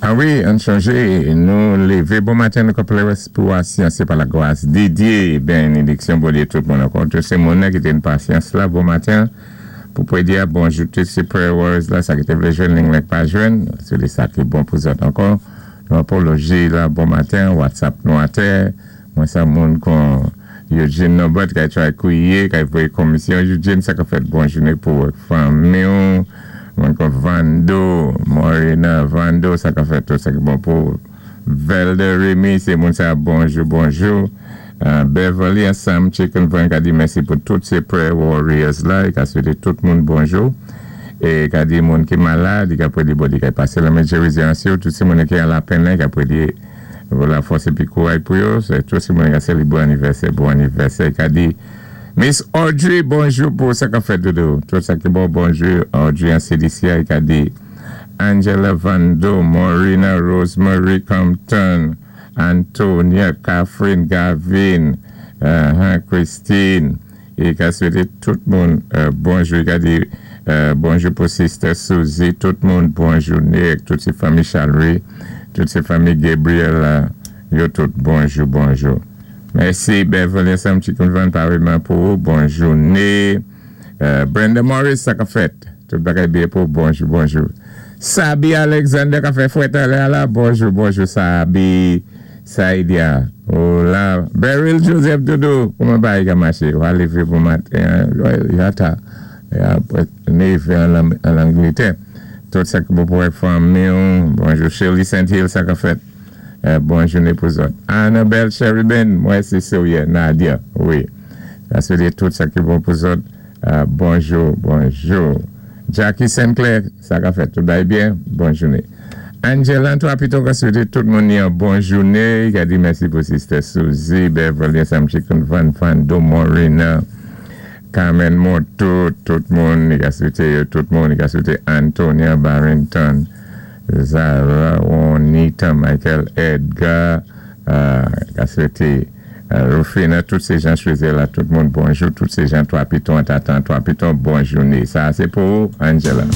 A wi, ann chanjé, nou lévé bon maten, nou ka pou pasyans, sé pa lagras di Dye, bénédiksyon Bondyé tout moun ankò. Tout sé moun ki té pasyans la, bon maten. Pou pwédi a bonjou tout sé prayer warriors la, sa ki té vlé jwenn, ling pa jwenn, sé sa ki bon pou zòt ankò. Nou apoloji la, bon maten, WhatsApp nou atè, mwen sa moun kon Eugene Nobert ki try kwiye, ki voyé komisyon. Eugene, sa ka fèt bon jouné pou fanmi, moun kon Vando, Morena, Vando, sa ka fèt tout sa ki bon pou Velde Remy, sé moun sa bonjou, bonjou. Beverly ansanm Chicken Van ka di mèsi pou tout sé prayer warriors la, i ka swété tout moun bonjou. É ka di moun ki malad, i ka pwédi Bondyé ka pasé lamen gerizon sou, tout sé moun ki an lapenn la, i ka pwédi lafòs épi kouray pou yo, sé tout sé moun ki sélébré anivèsè, bon anivèsè, i ka di Miss Audrey, bonjou pou sa ka fèt doudou. Tout sa ki bon, bonjou Audrey an CDC, i ka di Angela Vando, Maurina Rosemary Compton, Antonia, Catherine Gavin, Christine, é ka swété tout moun bonjou, i ka di bonjou pou Sister Suzy, tout moun bonjou, Nick, tout sé fanmi Chalry, tout sé fanmi Gabriel, yo tout bonjou, bonjou. Mèsi Beverly ansanm Chicken Van paréyman pou bon jouné. Brenda Morris, sa ka fèt. Tout bagay byen pou bonjou, bonjou. Sabi Alexander ka fè fwèt la la, bonjou, bonjou Sabi. Saïdia. Hola. Beryl Joseph Doudou, kouman bagay ka maché? Ou lévé bon maten, ya ta. Ya lévé an Angletè. Tout sa ki bon pou fanmi. Bonjou Shirley St. Hill, sa ka fèt. Bon jouné pou zòt. Annabelle Sheridan, mwen sé Sylvia Nadia, wi. Sa sé tout sa ki bon pou zòt. Bonjou, bonjou. Jackie Sinclair, sa ka fèt tout bagay byen, bon jouné. Angela, toi plutôt ka swété tout moun yon bon jouné. Ka di mèsi pou Sister Suzy, Beverly, Sam Chicken Van Fando, Morena, Carmen Moto, tout moun, i ka swété tout moun, i ka swété Antonia Barrington, Zara, Juanita, Michael Edgar, ka swété Rufina, tout sé jan chwézi la, tout moun bonjou, tout sé jan Trois Pitons, Tatan, Trois Pitons, bon jouné. Sa, sé pou Angela.